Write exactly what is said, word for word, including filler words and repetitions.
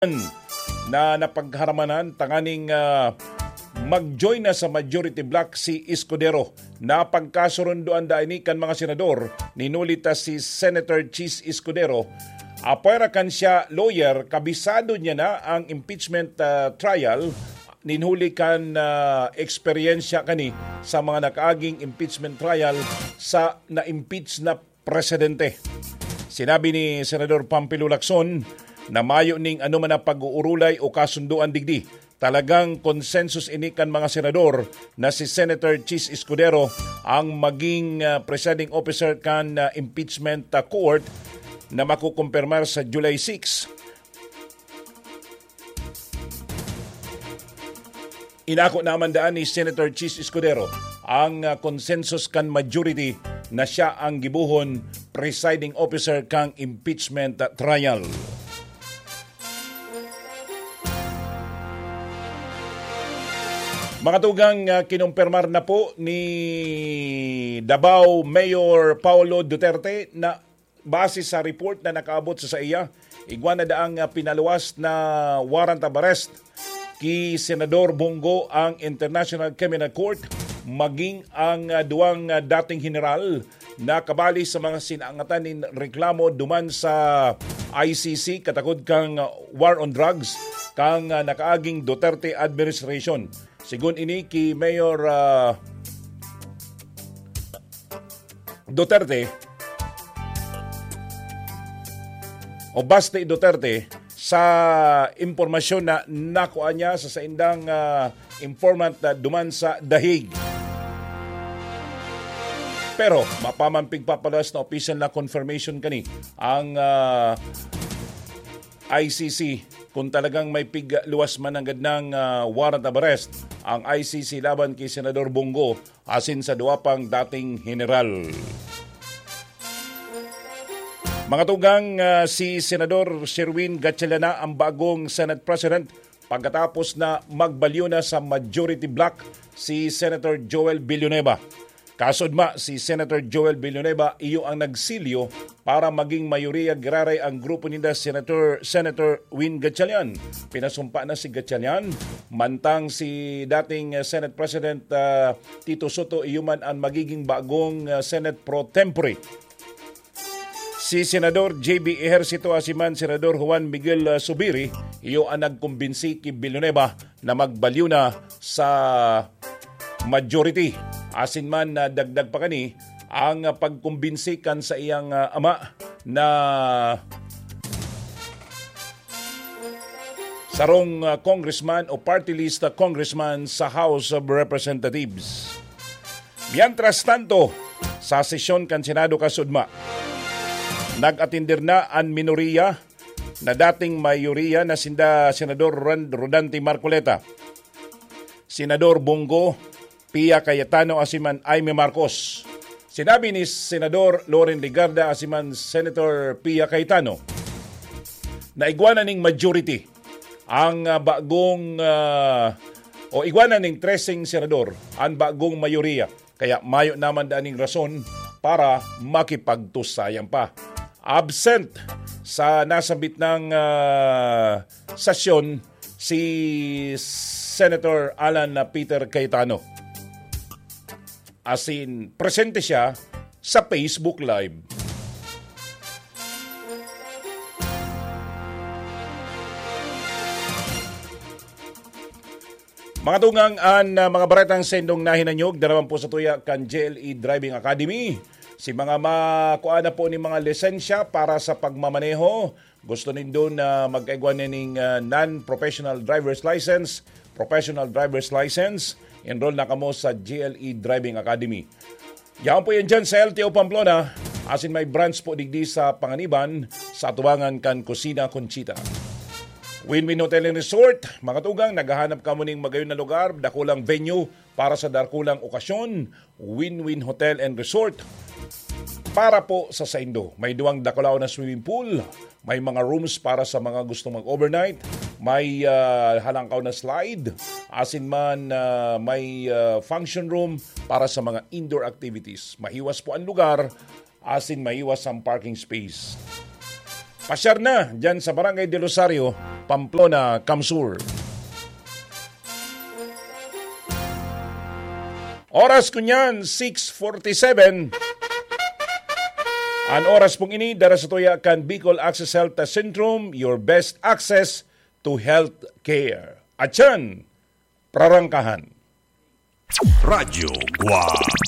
na napagharamanan tanganing, ah, mag-join na sa majority bloc si Escudero. Napagkasurundoan da ini kan mga senador, ninuli ta si Senator Chiz Escudero. Apwera kan siya lawyer, kabisado niya na ang impeachment, ah, trial, ninuli kan, ah, eksperyensya kani sa mga nakaaging impeachment trial sa na-impeach na presidente. Sinabi ni Senador Pampilo Lacson na mayo ning anoman na pag-uurulay o kasundoan digdi. Talagang konsensus ini kan mga senador na si Senator Chiz Escudero ang maging, ah, presiding officer kan, ah, impeachment, ah, court na makukumpirmar sa July six. Inako naman daan ni Senator Chiz Escudero ang, ah, consensus kan majority na siya ang gibohon presiding officer kang impeachment, ah, trial. Mga tugang, ah, kinumpirmar na po ni Davao Mayor Paolo Duterte na base sa report na nakaabot sa saiya, igwa na daang, ah, pinaluwas na warrant of arrest ki Senador Bong Go ang International Criminal Court, maging ang, ah, duwang, ah, dating general na kabali sa mga sinangatan nin reklamo duman sa I C C katakod kang, ah, war on drugs kang, ah, nakaaging Duterte administration. Sigon ini ki Mayor, ah, Duterte o Basti Duterte sa impormasyon na nakuha niya sa saindang, ah, informant na duman sa The Hague. Pero mapaman pigpapaluwas na opisyal na confirmation kani ang, ah, I C C kung talagang may pigluwas man nanggad ng, ah, warrant of arrest ang I C C laban ki Senador Bong Go asin sa duwa pang dating general. Mga tugang, ah, si Senador Sherwin Gatchalian na ang bagong Senate President pagkatapos na magbalyo na sa majority bloc si Senator Joel Villanueva. Kasudma, si Senator Joel Villanueva iyo ang nagsilyo para maging mayoriya giraray ang grupo ninda Senator, Senator Win Gatchalian. Pinasumpa na si Gatchalian, mantang si dating, eh, Senate President, ah, Tito Soto iyo man ang magiging bagong, ah, Senate pro tempore. Si Senador J B Ejercito asin man Senador Juan Miguel, ah, Zubiri iyo ang nagkumbinsi ki Villanueva na magbalyo na sa majority. Asin man, ah, dagdag pa kani ang, ah, pagkumbinsi kan sa iyang, ah, ama na sarong, ah, congressman o party list na congressman sa House of Representatives. Mientras tanto, sa sesyon kan Senado kasudma, nag-atender na an minoriya na dating mayoriya na sinda Senador Ron-, Rodante Marcoleta, Senador Bong Go, Pia Cayetano asin man Imee Marcos. Sinabi ni Senador Loren Legarda asin man Senator Pia Cayetano na igwa na ning majority ang, ah, bagong, ah, o igwa na ning treseng senador ang bagong mayoriya. Kaya mayo naman daning rason para makipagtusayan pa. Absent sa nasambit nang, ah, sesyon si Senator Alan na Peter Cayetano. Asin, presente siya sa Facebook Live. Mga tugang, an, ah, mga baretang sendong nahinanyog, daraman po sa tuya kan J L E Driving Academy. Si mga makuha na po ni mga lisensya para sa pagmamaneho, gusto nindo na magkaigwa na ning, ah, non-professional driver's license, professional driver's license, enroll na kamo sa J L E Driving Academy. Yaon po yan dyan sa L T O Pamplona, asin may branch po digdi sa Panganiban, sa atubangan kan Kusina Conchita. Win-Win Hotel and Resort, mga tugang, naghahanap kamo ning magayon na lugar, dakulang venue para sa dakulang okasyon, Win-Win Hotel and Resort. Para po sa saindo, may duwang dakulaw na swimming pool, may mga rooms para sa mga gustong mag-overnight, may, ah, halangkaw na slide, asin man, ah, may, ah, function room para sa mga indoor activities. Mahiwas po ang lugar, asin mahiwas ang parking space. Pasyar na dyan sa Barangay Del Rosario, Pamplona, CamSur. Oras ko niyan, six forty-seven. An oras pong ini, dara sa tuya kan Bicol Access Health Centrum, your best access to health care. Atyan, prarangkahan. Radyo Guwang.